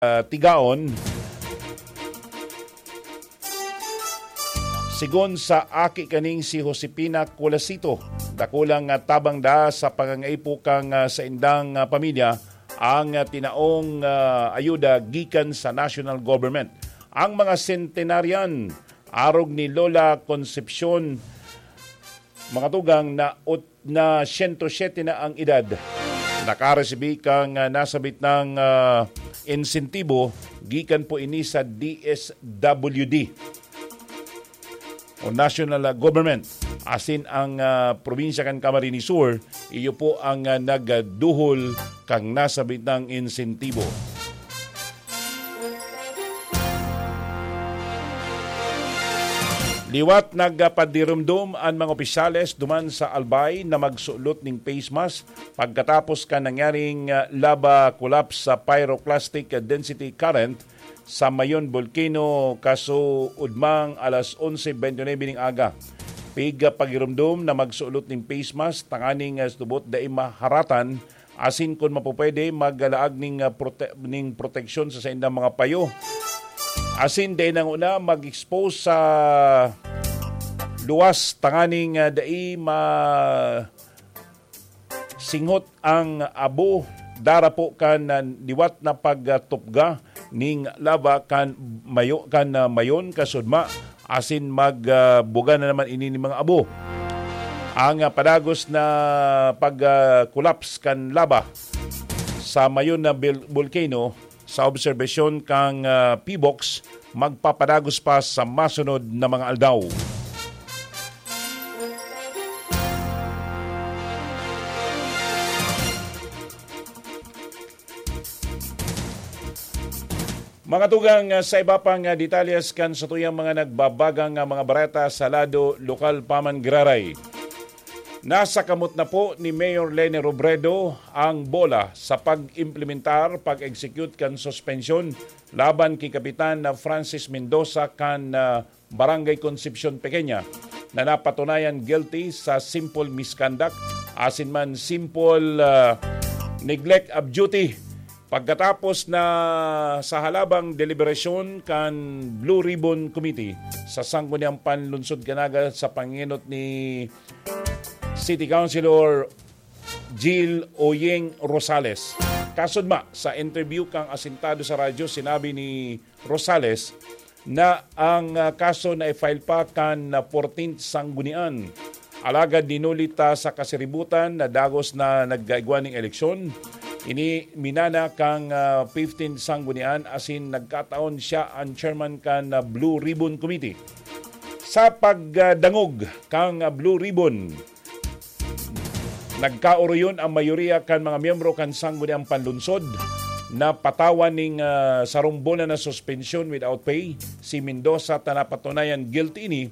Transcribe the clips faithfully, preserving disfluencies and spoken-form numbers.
ah, Tigaon. Sigon sa aki kaning si Josefina Colasito, dakulang, ah, tabang da sa pangangaipo kan, ah, saindang, ah, pamilya ang, ah, tinaong, ah, ayuda gikan sa national government. Ang mga centenarian, arog ni Lola Concepcion, mga tugang, na ut-, na siyento siyete na ang edad, nakaresibi kan, ah, nasabit na, ah, insentibo gikan po ini sa D S W D o national, ah, government. Asin ang, ah, probinsya kan Camarines Sur, iyo po ang, ah, nagduhol kan nasabit na insentibo. Liwat nagpadirumdom an mga opisyales duman sa Albay na magsulot nin face mask pagkatapos kan nangyaring, ah, lava collapse sa pyroclastic density current sa Mayon Volcano, kasuodmang alas onse bente nuebe ning aga. Pigpagirumdom na magsulot nin face mask tanganing, ah, subot dai maharatan, asin kun mapupwede, maglaag ning, ah, prote-, ning proteksyon sa saindang mga payo. Asin dai nanguna mag-expose sa luwas tanganing, ah, dai ma-, singhot ang abo, darapo kan, ah, liwat na pagtupga ning lava kan Mayo-, kan, ah, Mayon, kasudma, asin mag, ah, buga na naman ini nin mga abo. Ang, ah, padagos na pag, ah, collapse kan lava sa Mayon na bil-, volcano, sa obserbasyon kan, ah, PHIVOLCS, magpapadagos pa sa masunod na mga aldaw. Mga tugang, ah, sa iba pang, ah, detalyes kan satuyang mga nagbabagang, ah, mga bareta sa lado lokal pa man giraray. Nasa kamot na po ni Mayor Leni Robredo ang bola sa pag-implementar, pag-execute kan suspensyon laban ki Kapitan na Francis Mendoza kan, ah, Barangay Concepcion Pequeña na napatunayan guilty sa simple misconduct asin man simple, ah, neglect of duty pagkatapos na sa halabang deliberasyon kan Blue Ribbon Committee sa Sangguniang Panlunsod Canaga sa pangenot ni City Councilor Jill Oying Rosales. Kasudma, sa interview kan asintado sa radyo, sinabi ni Rosales na ang, ah, kaso na i-file pa kan, ah, fourteenth Sanggunian. Alagad dinuli ta sa kasiributan na dagos na nagkaigwa ning eleksyon. Ini minana kan, ah, fifteenth Sanggunian asin nagkataon siya an chairman kan, ah, Blue Ribbon Committee. Sa pagdangog kan, ah, Blue Ribbon, nagkaoroyon ang mayoriya kan mga miyembro kan Sangguniang Panlunsod na patawan ning, ah, sarong bulan na suspensyon without pay si Mendoza ta napatunayan guilty ini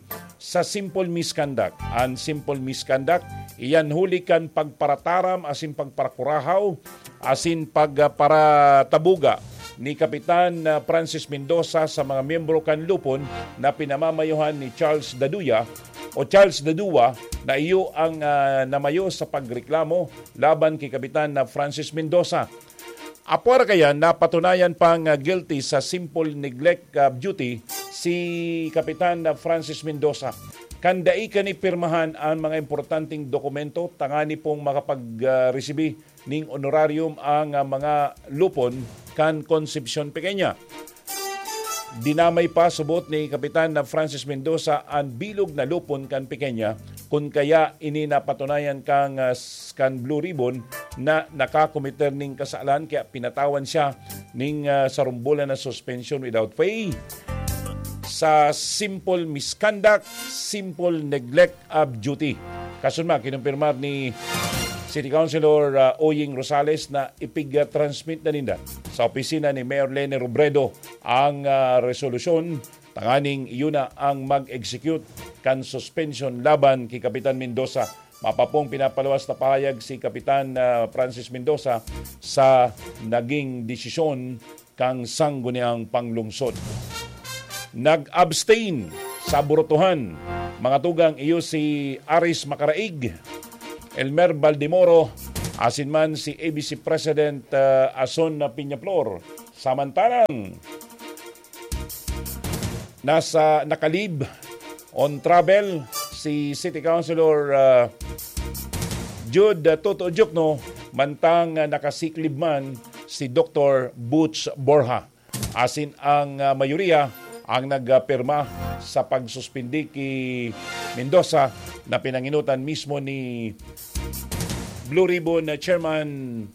sa simple misconduct. An simple misconduct, iyan huli kan pagparataram asin pagparakurahaw asin pag, ah, paratabuga ni Kapitan, ah, Francis Mendoza sa mga miyembro kan Lupon na pinamamayohan ni Charles Daduya o Charles Dadua na iyo ang, ah, namayo sa pagreklamo laban ki Kapitan na Francis Mendoza. Apwera kaya, napatunayan pang, ah, guilty sa simple neglect of duty si Kapitan na Francis Mendoza. Kan dai kani pirmahan ang mga importanteng dokumento tangani pong makapag, ah, resibi ning honorarium ang, ah, mga Lupon kan Concepcion Pequeña. Dinamay pa subot ni Kapitan na Francis Mendoza an bilog na Lupon kan Pequeña, kun kaya ini napatunayan kan, ah, s-, kan Blue Ribbon na nakakomiter ning kasalan, kaya pinatawan siya ning, ah, sarong bulan na suspension without pay sa simple misconduct, simple neglect of duty. Kasunma, kinumpirmar ni City Councilor, ah, Oying Rosales na ipig-transmit na ninda sa opisina ni Mayor Leni Robredo ang, ah, resolusyon tanganing iyo na ang mag-execute kan suspension laban ki Kapitan Mendoza. Mapapong pinapaluwas na pahayag si Kapitan, ah, Francis Mendoza sa naging desisyon kan Sangguniang Panglungsod. Nag-abstain sa burotohan, mga tugang, iyo si Aris Macaraig, Elmer Baldemoro, asin man si A B C President, ah, Ason Peñaflor. Samantalang nasa, naka-leave on travel si City Councilor, ah, Jude, ah, Toto Diokno, mantang, ah, naka-sick leave man si Doktor Butch Borja. Asin ang, ah, mayoriya ang nagpirma sa pagsuspindi ki Mendoza na pinanginutan mismo ni Blue Ribbon Chairman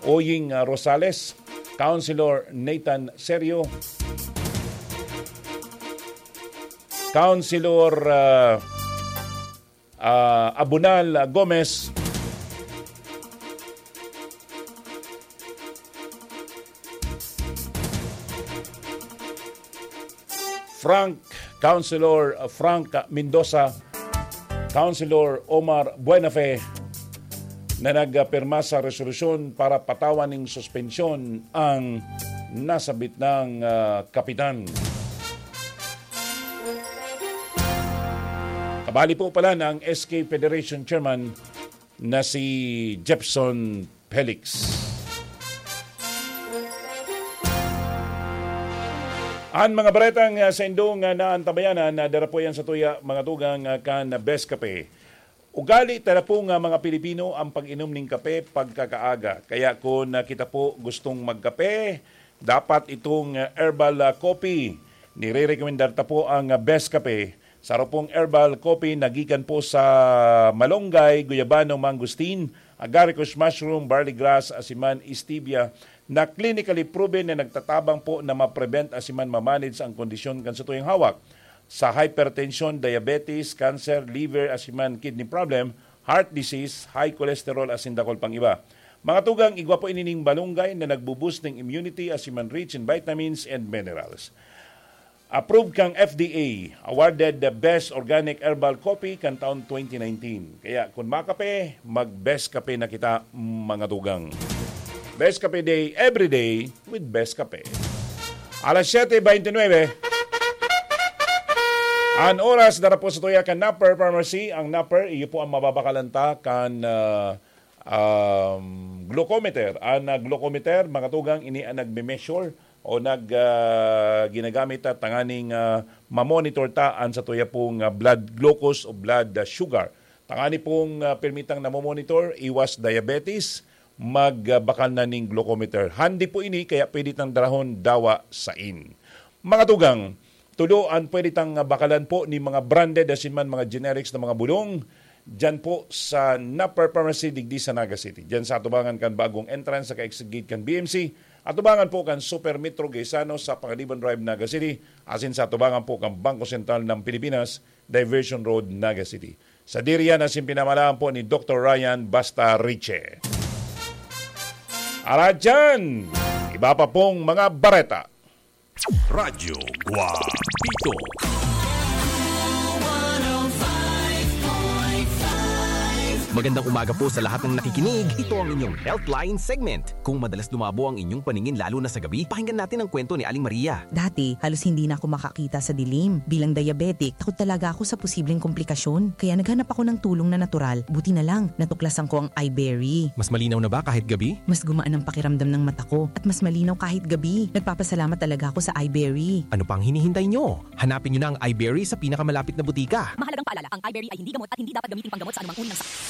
Oying, ah, Rosales, Councilor Nathan Serio, Councilor, ah, ah, Abunal Gomez, Frank, Councilor Frank Mendoza, Councilor Omar Buenafe, na nagpirma sa resolusyon para patawan ning suspensyon ang nasabit ng, ah, kapitan. Kabali po pala ng S K Federation Chairman na si Jepson Felix. An mga baretang, ah, sa indong, ah, naantabayanan, na dara po yan sa tuya, mga tugang, ah, kan Best Kape. Ugali ta na po nga mga Pilipino ang pag-inom ning kape pagkakaaga. Kaya kung, ah, kita po gustong magkape, dapat itong, ah, herbal, ah, coffee. Nire-recommendar ta po ang, ah, Best Kape. Saro pong herbal coffee na gikan po sa malunggay, guyabano, mangosteen, agaricus mushroom, barley grass, asin man stevia, na clinically proven na nagtatabang po na ma-prevent asin man ma-manage ang kondisyon kan satuyang hawak. Sa hypertension, diabetes, cancer, liver, asin man kidney problem, heart disease, high cholesterol, asin dakul pang iba. Mga tugang, igwa po ini ning malunggay na nagbo-boost ning immunity asin man rich in vitamins and minerals. Approved kang F D A, awarded the Best Organic Herbal Coffee kan taon twenty nineteen. Kaya kun makape, mag-Best Kape na kita, mga tugang. Best Kape Day, every day with Best Kape. Alas siyete beintinuebe. An oras, dara po sa tuya kan Napper Pharmacy. Ang Napper, iyo po ang mababakalan ta kan, ah, um, glucometer. An, ah, glucometer, mga tugang, ini ang nagme-measure o nag, ah, ginagamit ta tanganing, ah, mamonitor ta an satuya pong, ah, blood glucose o blood, ah, sugar. Tangani pong, ah, pirmitang namomonitor, iwas diabetes, magbakal na ning glucometer. Handi po ini, kaya pwede tang darahon dawa sain. Mga tugang, tudo an pwede tang bakalan po ni mga branded asin man mga generics na mga bulong diyan po sa Napper Pharmacy digdi sa Naga City. Diyan sa atubangan kan bagong entrance sa ka-exit gate kan B M C, atubangan po kan Super Metro Gaisano sa Panganiban Drive, Naga City, asin sa atubangan po kan Bangko Sentral ng Pilipinas, Diversion Road, Naga City. Sadiri yan asin pinamalaan po ni Doktor Ryan Basta Riche. Aradyan, iba pa pong mga bareta. Radyo Guapito. Magandang umaga po sa lahat ng nakikinig. Ito ang inyong Healthline segment. Kung madalas dumabo ang inyong paningin lalo na sa gabi, pakinggan natin ang kwento ni Aling Maria. Dati, halos hindi na ako makakita sa dilim. Bilang diabetic, takot talaga ako sa posibleng komplikasyon. Kaya naghanap ako ng tulong na natural. Buti na lang, natuklasan ko ang iBerry. Mas malinaw na ba kahit gabi? Mas gumaan ang pakiramdam ng mata ko at mas malinaw kahit gabi. Nagpapasalamat talaga ako sa iBerry. Ano pang hinihintay nyo? Hanapin nyo na ang iBerry sa pinakamalapit na butika. Mahalagang paalala, ang iBerry ay hindi gamot at hindi dapat gamiting panggamot sa anumang uri ng sakit.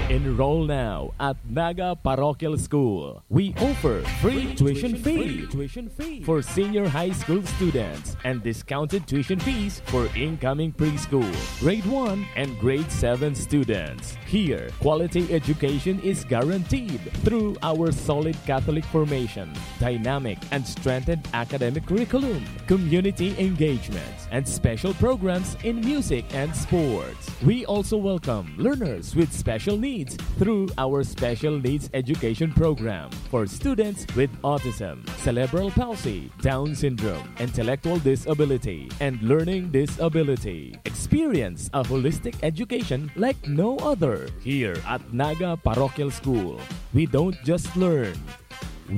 Enroll now at Naga Parochial School. We offer free tuition fee for senior high school students and discounted tuition fees for incoming preschool, grade one, and grade seven students. Here, quality education is guaranteed through our solid Catholic formation, dynamic and strengthened academic curriculum, community engagement, and special programs in music and sports. We also welcome learners with special needs through our Special Needs Education Program for students with autism, cerebral palsy, Down syndrome, intellectual disability, and learning disability. Experience a holistic education like no other. Here at Naga Parochial School, we don't just learn,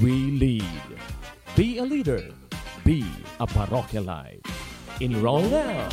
we lead. Be a leader. Be a Parochialite. Enroll now.